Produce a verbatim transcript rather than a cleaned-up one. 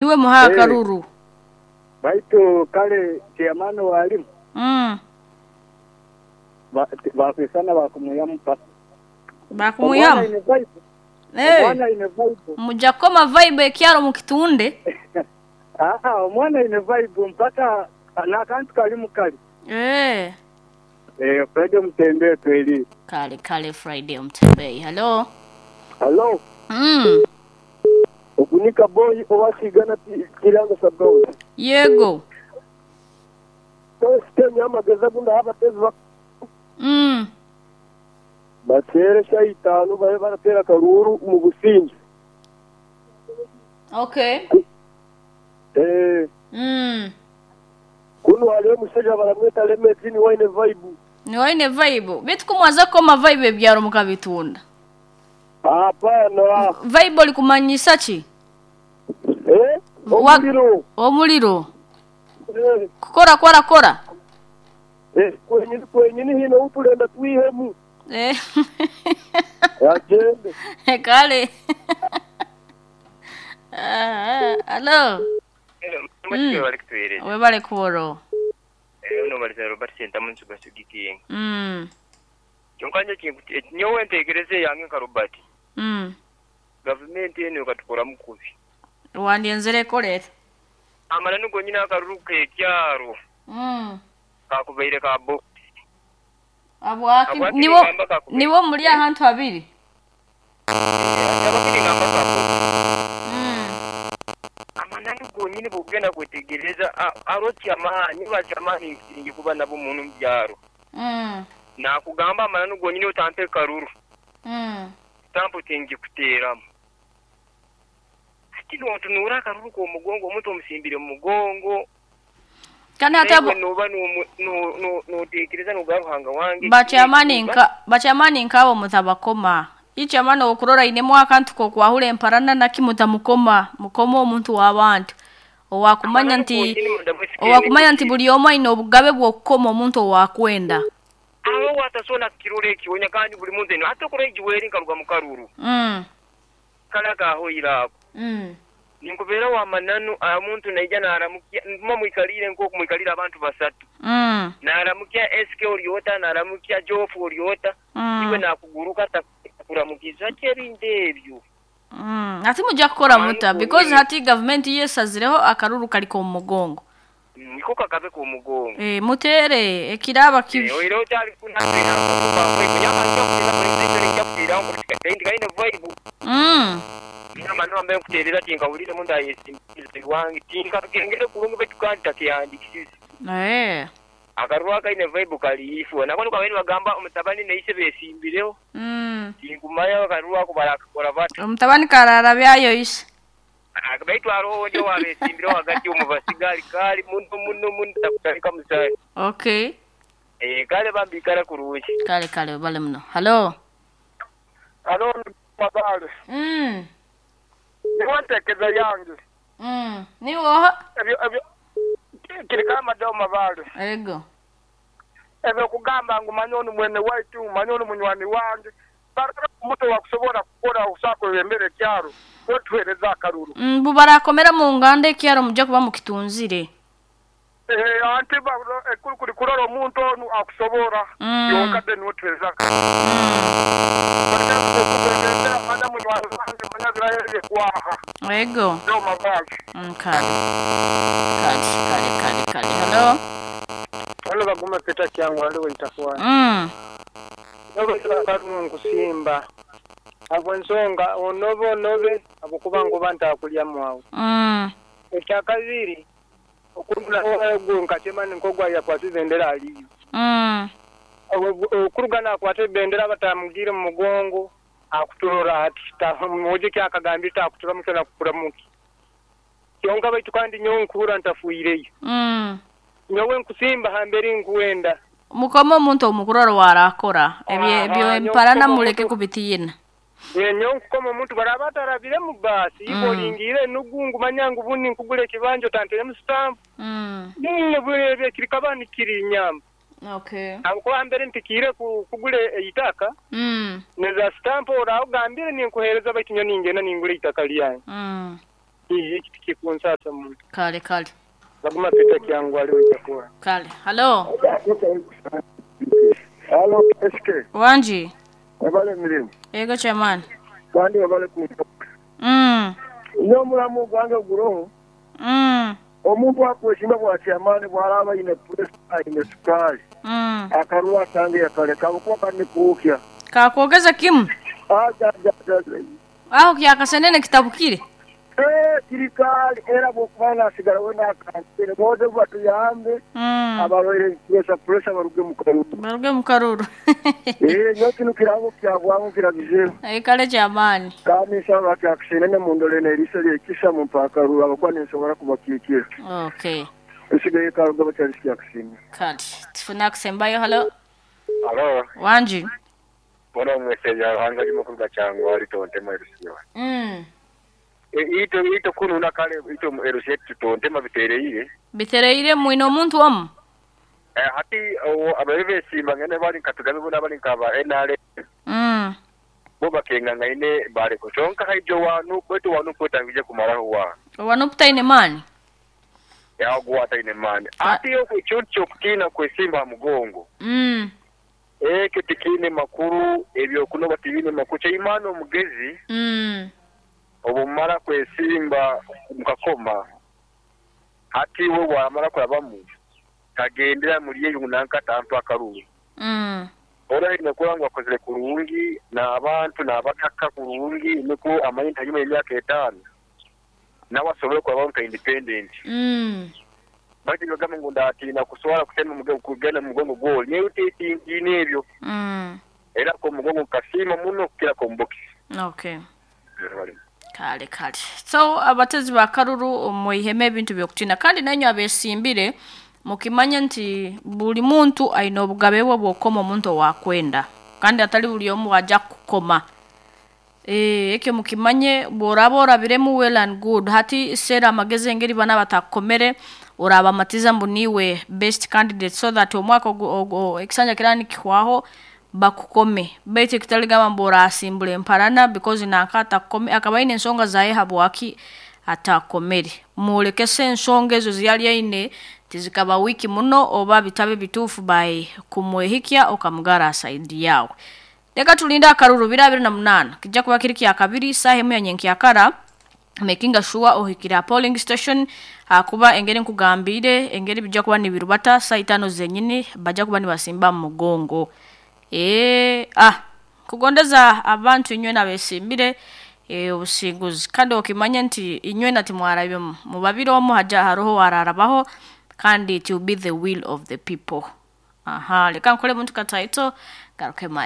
Niwe muha Eh. akaruru. Baitu kale chairman walimu Mm. bakwisana bakumuyamu pa. Bakumuyamu. Omwana ine vibe. Eh. Omwana ine vibe. Muja koma vibe ekyaro mukitunde. Ah ah, omwana ine vibe mpaka n'akantu kali mukali. Eh. Eh, Friday mutembee tweli. Kale kale Friday mtembei. Hello. Hello. Mm. Ogunika boy owasigana kiranga sabgawe. Yego. Tositenya amagezi gunda abatezi bak Mm. batere shayitano babe baratera karuru mu businge. Okay. Eh, Mm. kuno haliyo omusajja baramweta Lemeti ni wine vibe. Ni waine vibe. Bitu kumwaza koma vibe ebyaro mukabitunda. Hapana. Vibe olikumanyisa ki? Eh? Wa- Omuliro. Omuliro. Eh, Kukora kora kora. eh, kwenyini kwenyini hino utulenda twihemu. Eh. Agende. Kale. Ah, hello. Mm. Bali kutuhereza. Webale kuworo. Eh, uno bali Robert Sentamu nsugasugikinga. Mm. Kyonka nyo kintu nyowe ntekereze yange nka Robert. Mm. Gavumenti eno ekatukora mukubi. Wandienzere koleta. Amala nugo nyina akaruru k'ekyaro Mm. kakubaire ka box. Abwaki Abwaki niwo ningamba kakubaire. niwo muri ahantu habiri. Abakiri ngamba ka box. Mm. Amananu gonyine bwogenda kwetegereza aroti amaani basi amaani nkiringi kuba nabo muntu mu byaro. Mm. Nakugamba amananu gonyine utampe karuru. Mm. Stampu tingikuteeramu. Ati notunura akaruru k'omugongo omuntu omusimbire mu mugongo. Kandi hata Naye noba notekereza noga Ruhanga wange. bachamani nka bachamani nkabo mutabakoma. Ichamani okurora inemu akantu ko kwahura emparana nakimutamukoma mukoma omuntu w'abantu. Owakumanya nti owakumanya nti buli omwe aine obugabe bw'okukoma omuntu owakwenda. Abo watasona kirore ekionya kandi buli muntu eno ate okora egiweri nkaruga mu karuru. Mm. Kala kahoira ako. Mm. Ninkubeera wa mananu omuntu naija naramukia mma mwikalire nk'oku mwikalire abantu basatu. Mm. Naramukia S K oryota naramukia Jofu oryota. Mm. Iwe nakuguruka takuramukiza kyebintu ebyo. Mm. Ati mujja kukora muta Manu because gonyine. hati government yesazireho akaruru kali ku mugongo. Niko kakabe ku mugongo. Eh mutere ekiraba kibi. Eh oiro cyari kunatera kuba kunyaka nja kutera police nja kutera ngo kandi kaine vibe. Mm. Nama no ambaye kuterera tinkawulire munda yesimbize wange tinka kengere kulungu betukanta kyandikisize. Eh. Akarwa kaine vibe kali ifu nako niko abeni bagamba omutabani neise besimbireho. Mm. Tinkumaya akarwa kubara kora bati. Omutabani karara byayo ise. Baitu aroho ndio wabesimbireho hagati omubasigali kali muno muno muno takutalika musai. Okay. Eh kale bambikara kurungi. Kale kale bale muno. Hello. Hello mabale. Mm. Niwantekeza yange. Mm. Niwo Ebyo ebyo kiri kama do mabale. ego. Ebyo kugamba ngu manyono mwene waitu manyono munywani wange. Barara omuntu wakusobola kukora usako embere kyaro. Otuhereza akaruru. Mm, bubarakomera mu nganda ekyaro mujja kuba mukitunzire. Eh anti ba kuri kurora omuntu onu akusobora. Mm. Yonka then otuhereza. Mm. Ego. Do mabale. Mm, kale. Kale kale kale kale. Hello. Wale baguma peta kyangu wale itakuwa. Mm. Nabo nkusimba. Abo nsonga onobe onobe abukuba ngo bantakulya mwawo. Mm. Ekyakabiri okurugana ogu nkatema nkogwa yakwata bendera aliyo. Mm. Okurugana akwata bendera batamugire mu mugongo akuturora ati muje kyakagambira akutura mutana kukura muki. Kyonka baitu kandi nyonkura ntafuireyo. Mm. Nyowe nkusimba hambere nkuwenda. Mukoma omuntu omukuroro warakora ebyo ebyo emparana muleke kubitiyina. Enyo nkukoma omuntu barabatarabire mu basi Mm. ibolingire nugungu manyangu bundi nkugule kibanja tantere mu stamp. Mm. Ninne bwebe kirikabani kiri nyamba. Okay. Abo hambere ntikire kugule eitaka. Mm. Neza stamp oraugambire ninkuhereza baitu nyo ningena ningule itaka lyange. Mm. Eki tikikunsasa muno. Kale kale. Baguma Peter Kyangwa aliwe chakora. Kale. Halo. Halo, S K. Wanji. Wabale mirimu. Ego chairman. Kandi wabale kumpa. Mm. Nyo mulamu gwange guroho. Mm. Omuntu akweshimba bwa chairman bwalaba ine press ine sukari. Mm. Akarua tange yakaleka kuba kandi kuukya. Kakwogeza kimu. Aja aja aja. Aho kyakasenene kitabukire. Eh, kirikali era bwokubana sigara wena akansere boze batuyambe. Mm. Abalwaire pressure pressure baruge mu karuru. Baruge mu karuru. Eh, nyo kino kirabo kyabwamu kiragize. Eh, kale chairman. Kandi nsaba kyakasenene mu ndole n'eriso lyekisa mu mpakaruru abakuba n'ensobola kubakiikira. Okay. Esigaye karuga bakyali kyakasenene. Kale tufuna kusembayo. Halo. Halo. Wanji. Bona mweseja hanga limukuru cyangwa ari tontema erusiyo. Mm. E ito ito kununa kale ito erusiyo tontema bitereire. Bitereire mwino omuntu omu. Eh hati abarebe simba ngene bari katugabe bona bari nkaba N R M. Mm. Bo bakenga ngaine bare kuchonka haijo wanu kwetu wanu kwetangije kumaraho wa. Wanu putaine mani. Ya gwata ine mani. Ati yo kuchoncho kutina kwesimba mugongo. Mm. Ekyo tikine makuru ebyo kunoba tibine makuru imano mugezi. Mm. Obumara kwesimba mukakoma hati we wamara kurabamu kagendera muri yeyo nanka tampa akaruru. Mm. Ora inakora ngo akozere kurungi na abantu nabataka kurungi niko amanye ntanyuma y'imyaka etanu nawe asobole kurabamu ka independent. Mm. Bati bagamba ngo ndatina kuswara kutema mugongo kugenda mugongo gol ne uteti n'ebyo. Mm. Era ko mugongo kasima muno kira ko mbokisi. Okay. Kale kale. So abatezi ba karuru muiheme ebintu byokutina kandi nanyo abesimbire mukimanya nti buli muntu aina obugabe bwe bwokoma omuntu wakwenda kandi atali buli omu aja kukoma. Eh ekyo mukimanye boraba orabiremu well and good hati sera amagezi engeri bana batakomere oraba matiza mbuniwe best candidate so that omwaka ekisanja kirani kihwaho bakukome bete kitaligamba mbora asimbule mparana because nankata kome akabaine ensonga zaye habwaki atakomere mulekese ensonga ezo ziyali aine tizikaba wiki muno oba bitabe bitufu by kumwehikia okamugara asaidi yawe. Leka tulinda akaruru bira abiri na munana kijja kuba kiri kya kabiri saha emu ya nyenkyakara making sure ohikira polling station akuba engeri nkugambire engeri bijja kuba nibirubata saa itano zenyini bajja kuba nibasimba mu mugongo. Eh ah kugondeza abantu inywe nabesimbire eh obusinguzi kandi okimanya nti inywe nati mwarabyo mubabiro omu haja haroho wararabaho kandi it will be the will of the people. Aha leka nkole muntu kataito garuke mai.